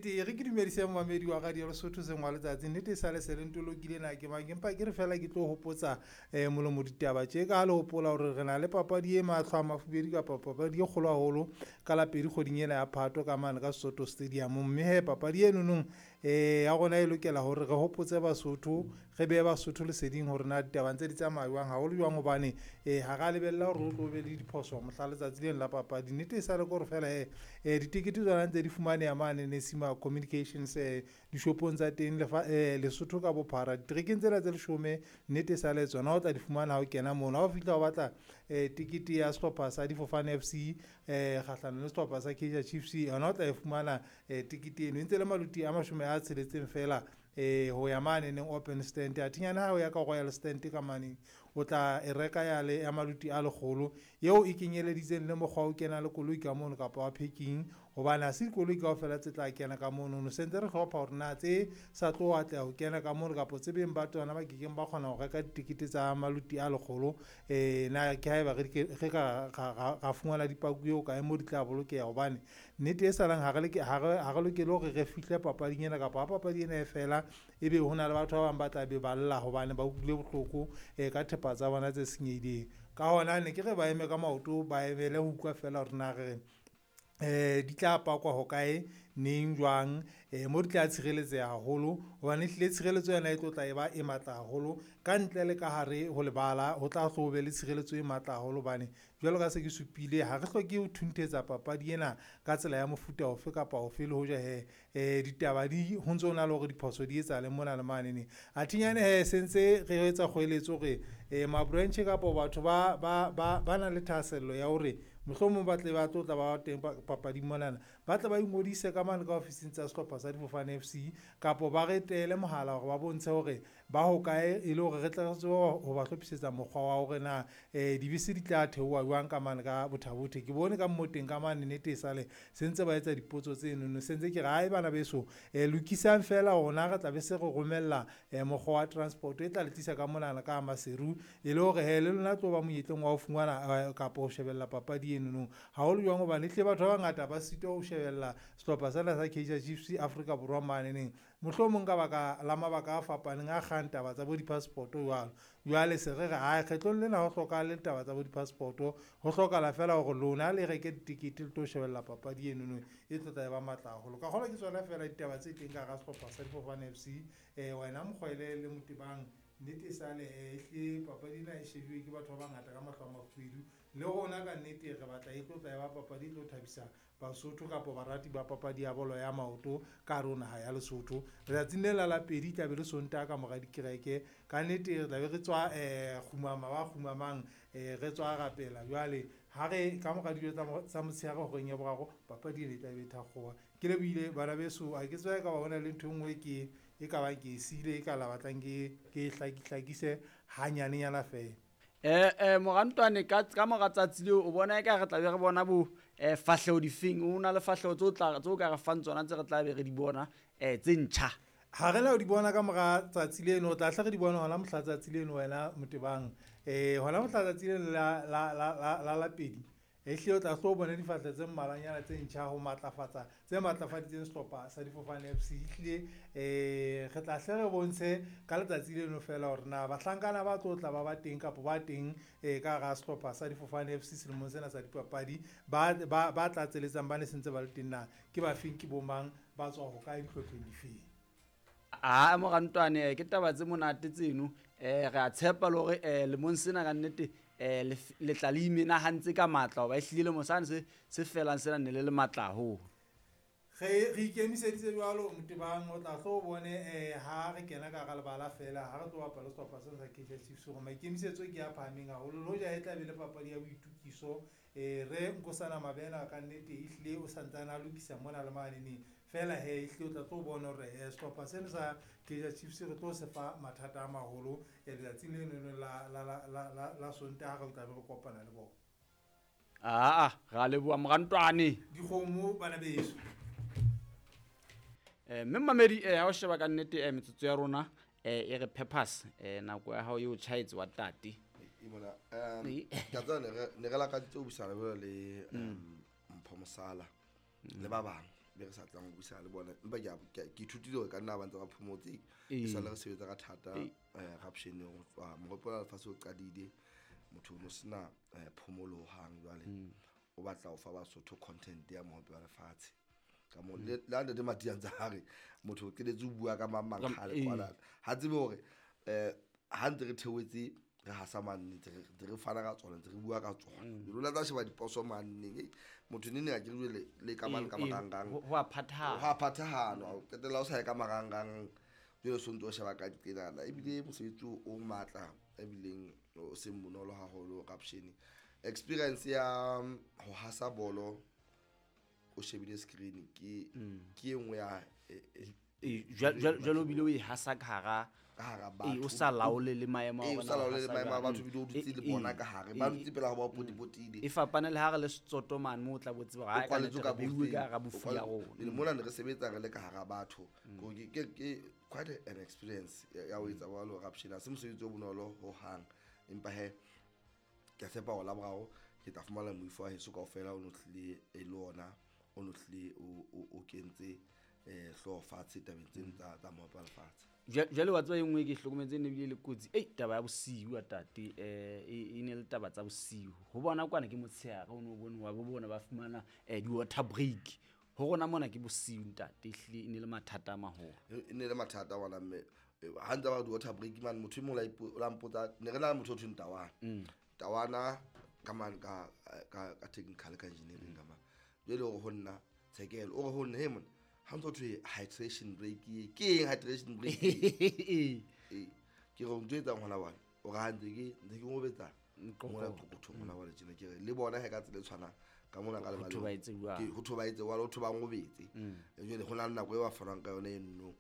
nnete e re ke dumedise momamedi wa radio Lesotho seng wa letsatsi. Nnete e sale se le ntolokile na ke mang, empa ke re fela ke tlo hopotsa molomo ditaba tje ka ha le hopola hore re na le papadi e mahlo a mafubedi kapa papadi e kgolo haholo ka la pedi kgweding ena ya Phato ka mane ka Soto Stadium. Mme he papadi enonong ya rona e lokela hore re hopotse Basotho, re behe Basotho leseding hore na ditaba ntse di tsamaya jwang, haholo jwang hobane ha ra lebella hore o tlo be le diphoso mohla letsatsi leno la papadi. Nnete e sale ke hore fela he ditekete tsona ntse di fumaneha mane Nesima Communications dishopong tsa teng Lesotho ka bophara. Diterekeng tsena tse 10 nnete e sale tsona o tla di fumana ha o kena mono. Ha o fihla o batla tekete ya sehlopha sa Difofane FC kgahlanong le sehlopha sa Kaizer Chiefs, yona o tla e fumana tekete eno e ntse le maluti a 60 fela ho ya mane neng open stand. Athinyana ha o ya ka Royal Stand ka mane o tla e reka ya le ya maluti a 100 eo e kenyeleditseng le mokgwa o kena le koloi ka mono kapa wa parking, hobane ha se dikoloi kaofela tse tla kena ka mono. No sentse re hlopha hore na tse sa tlo atleha ho kena ka mono kapa tse beng ba tsona ba kekeng ba kgona ho reka ditekete tsa maluti a 100 na ke haeba re ka ra fumana dipaku eo kae mo di tla bolokeha, hobane nnete e salang ha re lokele hore re fihle papading ena kapa ha papadi ena e fela ebe ho na le batho ba bang ba tla be ba lla hobane ba utlwile bohloko ka thepa tsa bona tse senyehileng. Ka hona ne ke re ba eme ka maoto, ba emele ho utlwa fela hore na re di tla pakwa hokae, neng, jwang, mo di tla tshireletseha haholo, hobane ehlile tshireletso yona e tlo tla e ba e matla haholo ka ntle le ka hare ho lebala. Ho tla hlo be le tshireletso e matla haholo, hobane jwalo ka se ke supile ha re hloke ho thunthetsa papadi ena ka tsela ya mofuta ofe kapa ofe, le hoja he ditaba di ho ntso na le hore diphoso di etsahale mona le mane ne. Athinyane he sentse re etsa kgoeletso hore ma-branch kapa batho ba nang le thahasello ya hore mohlomong ba tle ba tlo tla ba teng papading monana, ba tle ba ingodise ka mane ka ofising tsa sehlopha sa Difofane FC kapa ba re teele mohala hore ba bontshe hore ba hokae, e le hore re tle re tsebe ho ba hlophisetsa mokgwa wa hore na dibese di tla theoha jwang ka mane ka Bothabothe. Ke bone ka mmoteng ka mane nnete e sale se ntse ba etsa dipotso tsenono, se ntse ke re hae bana beso lokisang fela rona re tla be se re romella mokgwa wa transport e tla le tlisa ka monana ka Maseru, e le hore he le lona tlo ba monyetleng wa ho fumana kapa ho shebella papadi enono haholo jwang, hobane ehlile batho ba bangata ba sitwa ho shebella sehlopha sena sa Kaizer Chiefs Afrika Borwa mane neng, mohlomong ka baka la mabaka a fapaneng a kgang taba tsa bo di-passport jwalo. Jwale se re re hae kgetlong lena ho hlokahale taba tsa bo di-passport, ho hlokahala fela hore lona le reke ditekete le tlo shebella papadi enono e tlo tla e ba matla haholo. Ka kgolwa ke tsona fela ditaba tse teng ka hara sehlopha sa Difofane FC. Wena Mokgwele le Motebang, nnete e sale ehlile papadi ena e shebuwe ke batho ba bangata ka mahlo a mafubedu, le rona ka nnete re batla e tlo tla e ba papadi e tlo thabisa Basotho kapa barati ba papadi ya bolo ya maoto ka hare ho naha ya Lesotho. Letsatsing le la pedi tla be le Sontaha ka mora dikereke, ka nnete re tla be re tswa kgumama ba kgumamang re tswa rapela. Jwale ha re ka mora dijo tsa motshehare horeng ya boraro papadi ena e tla be e thakgoha. Ke lebohile bana beso, ha ke tsebe ka ba hona le ntho e nngwe ke e ka bang ke e siile e ka la batlang ke e hlakise hanyanenyana fela. Morantwane ka mora tsatsi leo o bona eka re tla be re bona bo fahleho difeng, o na le fahleho tse o ka re fang tsona tse re tla be re di bona tse ntjha? Ha re la o di bona ka mora tsatsi leno, o tla hle re di bona hona mohla tsatsi leno wena Motebang. Hona mohla tsatsi leno la pedi ehlile o tla hlo o bone difahleho tse mmalwanyana tse ntjha ho matlafatsa tse matlafaditseng sehlopha sa Difofane FC. Ehlile re tla hle re bontshe ka letsatsi leno fela hore na bahlankana ba tlo tla ba ba teng kapa ba teng ka hara sehlopha sa Difofane FC selemong sena sa dipapadi, ba tlatseletsang ba ne sentse ba le teng na ke bafeng, ke bomang, ba tswa hokae, dihlopheng difeng. A morantwane ke taba tse monate tseno, re a tshepa le hore lemong sena ka nnete le tla le imenahantse ka matla, hoba ehlile lemo sane se felang sena ne le le matla haholo. Re ikemiseditse jwalo Motebang, o tla hlo o bone ha re kena ka hara lebala fela ha re tlo bapala sehlopha sena sa Kaizer Chiefs hore maikemisetso ke a phahameng haholo, le hoja e tla be le papadi ya boitukiso. Re Nkosana Mabena ka nnete ehlile o santsane a lokisa mona le mane neng fela he ehlile o tla tlo bona hore sehlopha sena sa Kaizer Chiefs re tlo se fa mathata a maholo letsatsing leno la Sontaha re tla be re kopana le bona. Aa re a leboha morantwane. Dikgomo bana beso. Mme mmamedi ha o sheba ka nnete metsotso ya rona e re peppers nako ya hao e o tjhaetse wa tate. Mona ka tseba ne re lakaditse ho buisana jwalo le Mpho Mosala le ba bang. be re sa tlang ho buisana le bona, empa ke ithutile hore ka nna ba ntse ba phomotse, e sale re sebetsa ka thata corruption ho tswa mohope wa lefatshe o qadile, motho o no sena phomolo hohang. Jwale o batla ho fa Basotho content ya mohope wa lefatshe ka mo le ha Ntate Matia ntse a re motho o qetetse ho bua ka mang mang kgale kwana, ha tsebe hore ha ntse re theohetse re hasa manne, ntse re fana ka tsona, ntse re bua ka tsona. Lona tsa sheba diposo manneng, motho nene a ke re jwale le ka mane ka marangrang ho a phathahana, ho a phathahana, o qetella o sa ye ka marangrang, jwale o sontso o sheba ka diqenana. Ebile mosebetsi o matla, ebileng o seng bonolo haholo corruption. Experience ya ho hasa bolo o shebile screen ke e nngwe ya jwale o bile o e hasa ka hara batho, o sa laole le maemo a o sa laole le maemo a batho, bile o dutse le bona ka hare, ba dutse pela ho ba potipotile. E fapane le ha re le setsoto mane moo o tla bo tseba hore kwaletswe ka beuwe ka hara bofu ya rona. Le mona ne re sebetsa re le ka hara batho. Ke quite an experience ya ho etsa jwalo corruption. Ha se mosebetsi o bonolo hohang, empa he ke a tshepa hore la boraro ke tla fumana moifo wa heso kaofela o no tlile e le ona, o no tlile o kentse hlooho fatshe tabeng tseno tsa mohope wa lefatshe. Jwale wa tseba e nngwe ke hlokometse ne bile le kotsi, taba ya bosiu tate, e ne le taba tsa bosiu. Ho bona kwana ke motshehare, o no bone wa bo bona ba fumana di-water break. Ho rona mona ke bosiu ntate, ehlile e ne le mathata a maholo. E ne le mathata ngwana mme, ha ntse ba di-water break mane, motho e mong o la mpotsa, ne re na le motho o thweng Tawana. Tawana ka mane ka technical ka engineering ka mane. Jwale o re ho nna Tshekelo, o re ho nna, he monna, ha ntso thwe hydration break e, ke eng hydration break e? Ke re o ntho etsang hona jwale, o re ha ntse ke ntse ke ngobetsa mona qoqothong hona jwale tjena, ke re le bona he ka tsela e tshwanang ka mona ka Ho thwe ba etse jwang? Ke ho thwe ba etse jwalo, ho thwe ba ngobetse. Jwale ho na le nako e ba fanang ka yona e nno,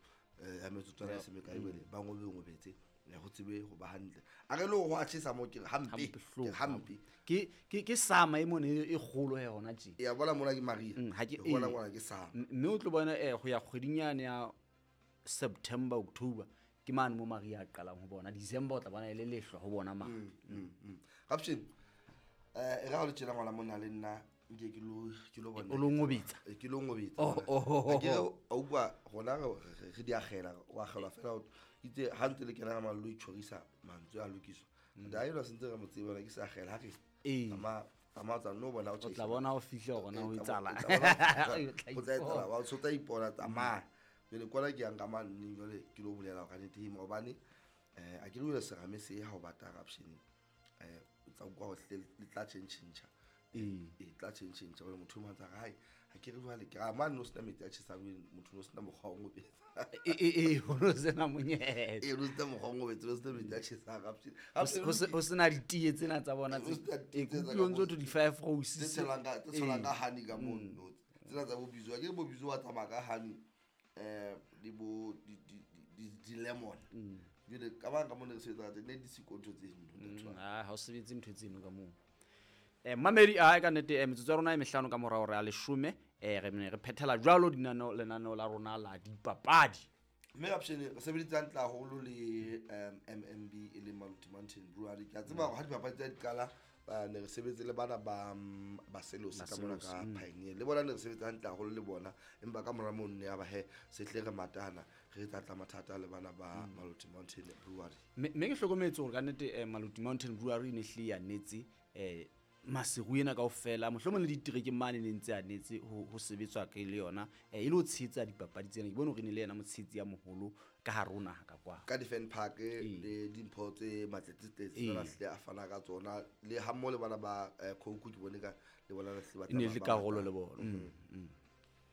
ya metsotswana e se mekae jwale, ba ngobe ngobetse, ho tsebe ho ba hantle. A re le hore ho a tjhesa moo, ke re hampe, Hampe, ke hloko, hampe. Ke sama e mona e kgolo he hona tje. Ya bona mona ke Maria. Ha ke Ke bona ee. mona ke sama. Mme o tlo bona ho ya kgweding yane ya September, October, ke mane mo Maria a qalang ho bona. December o tla bona e le lehlwa ho bona mane. Rapshin, e ra ho le tjena ngwana mona le nna, nke ke lo, ke lo bona. O lo ngobetsa? Ke lo ngobetsa. Oh, oh, oh, Ha ke re, oh. a utlwa rona re di akgela, o akgelwa fela, o itse ha ntse le kena ka mallo, o itjhorisa mantswe a lokiswa. Ntate enwa sentse re mo tseba, ke sa akgela, ha re tsamaya, tsamaya, tsamaya, no bona o O tla tjhaisa. bona o fihla hore na ho etsahala. Tsamaya, O tla o tla etsahala, ipona. wa o tla ipona, tsamaya. Jwale kwana ke yang ka mane, jwale ke lo bolela hore kannete hema, hobane, a ke re jwale serame se ha o bata corruption, o tla utlwa hore le tla tjhentjhentjha. E tla tjhentjhentjha, hobane motho o mong a ntse a re, hai, ha ke re jwale, ke re, mane no sena metsi a tjhesang, motho no sena mokgwa wa ho ngobetsa. Ho no sena monyetla. No sena mokgwa wa ho ngobetsa, no sena metsi a tjhesang, corruption. Ho sena ditee tsena tsa bona Ho tse sena ditee tsena ke ka utlwe ntse moo. ho thwe di-five roses. Tse tshelwang ka honey ka mono. Tsena tsa bo Bizo, akere bo Bizo wa tsamaya ka honey, le bo di-lemon. Jwale ka bang ka mona re sebetsa ka teng, ne di siko ntho tse ntho, ntho. Ha o sebetse ntho tseno ka moo. Mamedi, a ka nnete, metsotso ya rona e mehlano ka morao re a leshome, re ne re phethela jwalo lenaneo la rona la dipapadi. Mme Rapshane, re sebeditse hantle haholo le MMB e leng Maluti Mountain Brewery. Ke a tseba hore ha dipapadi tsa di qala, ne re sebetse le bana ba Selosi ka mona ka Selosi, Pioneer. Le bona ne re sebetse hantle haholo le bona, empa ka mora mono ne ya ba he, se tle re matana, re tla tla mathata le bana ba Maluti Mountain Brewery. Mme ke hlokometse hore ka nnete, Maluti Mountain Brewery e ne hlile ya netse, Maseru ena kaofela, mohlomong le diterekeng mane ne ntse a netse ho sebetswa ke le yona, e le ho tshehetsa dipapadi tsena. Ke bone hore e ne le yena motshehetsi ya moholo ka hare ho naha ka kwa. Ka di-fan park le dimpho tse matletsetletse tsena hlile a fana ka tsona, le ha mmoho le bana ba Coke, ke bone ka le bona hlile ba E ne le tsamaya ba karolo bapala. le bona.